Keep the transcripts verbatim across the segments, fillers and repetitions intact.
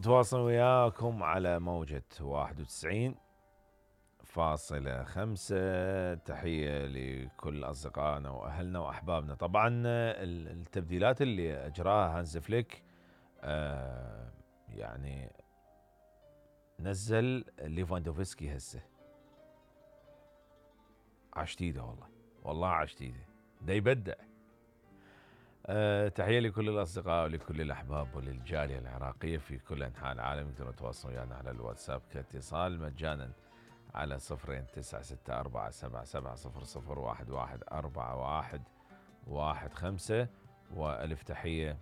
تواصل وياكم على موجة واحد وتسعين فاصلة خمسة. تحية لكل أصدقائنا وأهلنا وأحبابنا. طبعا التبديلات اللي أجراها هانز فليك آه يعني نزل ليفاندوفسكي هسه عشتيده والله والله عشتيده دا يبدع. أه تحية لكل الأصدقاء ولكل الأحباب وللجالية العراقية في كل أنحاء العالم. يقدرون يتواصلون ويانا على الواتساب كاتصال مجانا على صفرين تسعة ستة أربعة سبعة سبعة صفر صفر واحد واحد أربعة واحد واحد خمسة. وألف تحية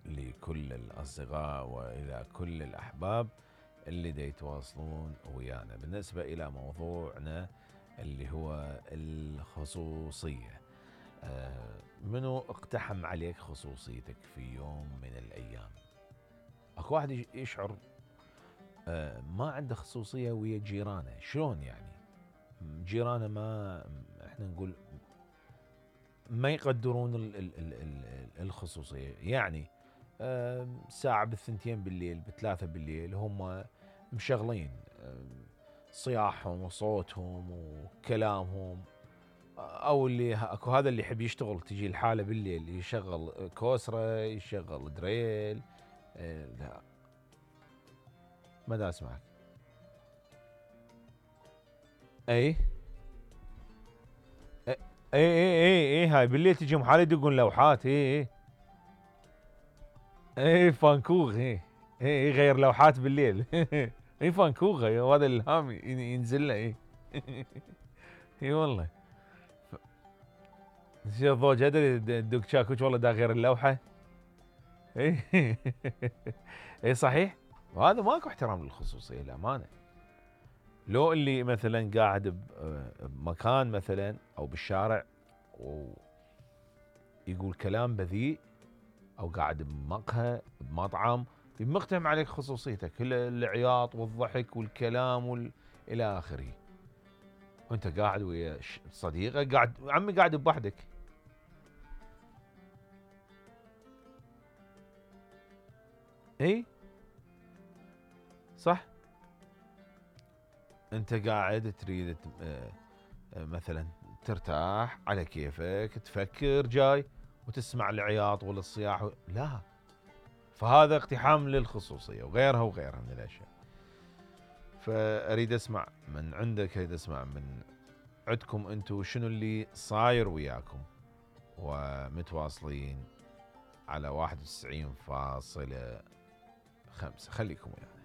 لكل الأصدقاء وإلى كل الأحباب اللي دا يتواصلون ويانا. بالنسبة إلى موضوعنا اللي هو الخصوصية، آه منو اقتحم عليك خصوصيتك في يوم من الأيام؟ اكو واحد يشعر آه ما عنده خصوصية ويا جيرانه. شلون يعني؟ جيرانه ما احنا نقول ما يقدرون ال ال ال ال الخصوصية. يعني آه ساعة بالثنتين بالليل بثلاثة بالليل هم مشغلين آه صياحهم وصوتهم وكلامهم، او اللي اكو هذا اللي يحب يشتغل تجي الحاله بالليل يشغل كوسره يشغل دريل. إيه لا ما دا اسمعك. اي اي اي اي اي هاي بالليل تجي محال يدقون لوحات. اي اي اي فانكوغ. اي اي غير لوحات بالليل. اي فانكوغ هذا الهام ينزل له. اي اي والله شوف ضوج ادري دق شاكوش والله دا غير اللوحه. اي اي صحيح. وهذا ماكو احترام للخصوصيه الامانه. لو اللي مثلا قاعد بمكان مثلا او بالشارع ويقول كلام بذيء او قاعد بمقهى بمطعم يمقتهم عليك خصوصيتك، العياط والضحك والكلام وال... الى اخره. وانت قاعد ويا صديقك قاعد عمي قاعد بوحدك. اي صح. انت قاعد تريد مثلا ترتاح على كيفك تفكر جاي وتسمع العياط ولا الصياح و... لا، فهذا اقتحام للخصوصية وغيرها وغيرها من الاشياء. فاريد اسمع من عندك، اريد اسمع من عندكم انتم شنو اللي صاير وياكم ومتواصلين على واحد وتسعين فاصلة خمسة. خليكم ويانا.